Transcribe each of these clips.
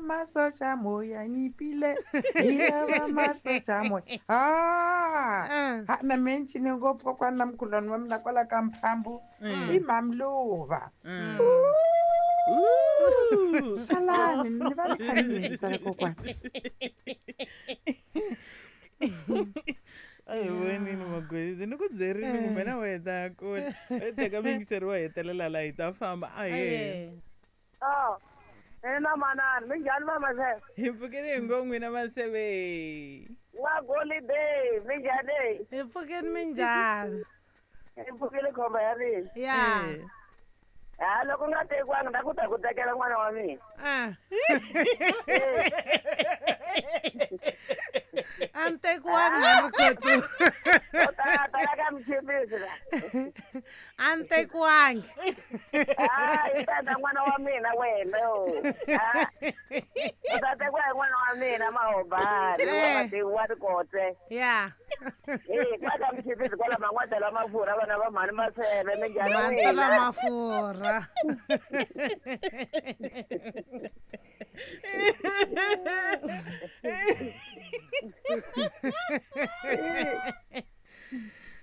Masocha moya nyipile, hi lava masocha moya. Ah, ha na me ncine ngopfu kokwana na mkhulwana wa mina kwala ka Mphambu i Mamluva. Salani ni va ni kha ni yingisela kokwana. A hi vonini Magolide, ni ku byerini kumbe na wena ta kula u teka muyingiseri wo hetelela la hi ta famba. Ahee. Oh, ina manana, minjhani va Maseve? Hi pfukile hi ngo n'wina Maseve. Wa Golide, minjhani? Hi pfukile, minjhani? Hi pfukile, khomba ya mina. Ya. Ha, loko u nga tekiwanga na ku ta ku tekela n'wana wa mina. Ah. A ni tekiwangi na Rikhotso. U ta tala ka mchimbisi la. A ni tekiwangi. Ah, i ta ta n'wana wa mina wena yo. Ah. U ta tekiwa hi n'wana wa mina Mahobani, wa Rikotse. Ya. Eh, kwala mchimbisi kwala man'wata la mafurha vana va mhani Maseve minjhani? Mantala mafurha.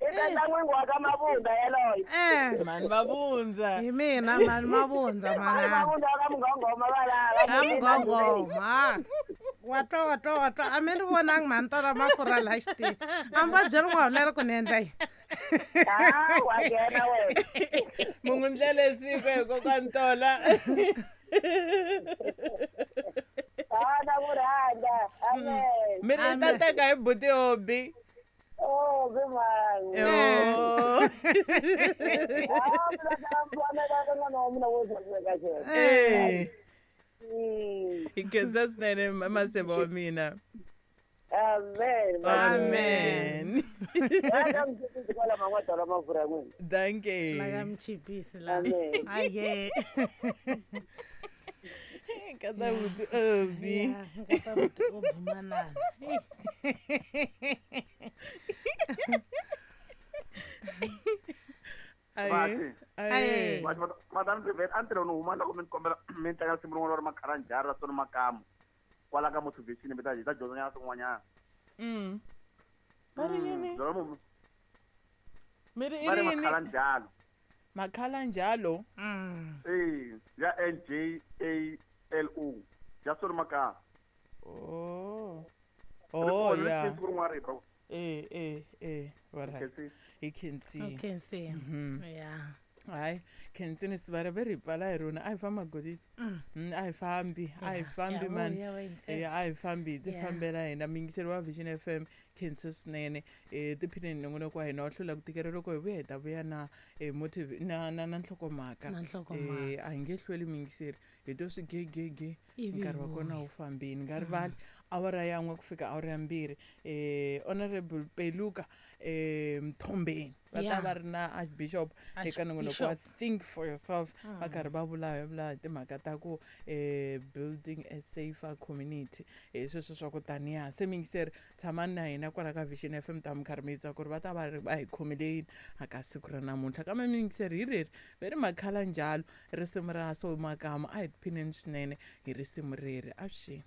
I ta ta n'wingi wa ka Mabunda yaloyo. Eh. Mani Mabundza. Hi mina mani Mabundza Mhani manana. Mabunda wa ka Mugongoma valava. Ka Mugongoma. Wa twa, wa twa, wa twa. A mi ni vonangi mhani tola mafurha laha xitini. A mi va byeli n'wahulelo ku ni endla yini. Ah, wa nghena wena. Mungu ndlele siku hi kokwani Tola. Ah, na ku rhandza. Amen. Mi ri i ta teka hi buti Obi. Oh, be mhani. Oh. Ah, mina ta pfamela ka n'wana wa mina wo saseka xena. Eh. Hi khensa swinene Maseve wa mina. Amen. Amen. Ka mchimbisi kwala man'wata la mafurha n'wina. Dankie. La ka mchipisi la. Amen. Aye. Nkata buti Obi. Ya, nkata buti Obi manana. Aye. Aye. Madam Rivet, a ni tirha ni huma loko mi ni kombela mi ni tlangela risimu rin'wana ra Makharanjhara ra Soni Makamu kwala ka motivation, mi ta hi ta dyondza nyana swin'wanyana. Va ri yini? Byela munhu. Mi ri i Va ri ri yini? Makhalanjalo. Makhalanjalo. Eh, ya N J A L O ya Soni Makamu. Oh. Ri Oh, kona, ri ya. siku rin'wana ri bro. Eh, eh, eh, alright. Khensile. Hi khensile. U khensile. Ya. Hayi, khensini sivara ve ri pfala hi rona. A hi famba Golide. A hi fambi, a hi fambi Ya, man. vuya wa yingisela. Eh, a hi fambi, hi ti Ya. fambela hina. Muyingiseri wa Vision FM, khensa swinene. Eh, tiphineni nongonoko wa hina wa hlula ku tikela loko hi vuya hi ta vuya na motive na na na nhlokomhaka. Na nhlokomhaka. Eh, a hi nge hlweli muyingiseri. Hi to swi gegege Ivi nkarhi wa hi kona vuya. wu fambini. Nga rivali awara ya 1 ku fika awara ya 2. Honorable Peluka Mthombeni va ta Ya. va ri na Archbishop eka nongonoko wa Archbishop. Think for Yourself, va karhi va vulavula hi timhaka ta ku building a safer community. Sweswo swa ku taniya se muyingiseri tshamani na hina kwala ka Vision FM ta mi karhi mi twa ku ri va ta va ri va hi khomile yini aka siku ra namuntlha. Kambe muyingiseri hi reri ve ri Makhalanjalo risimu ra Soul Makamu, a hi tiphineni swinene hi risimu reri. Avuxeni.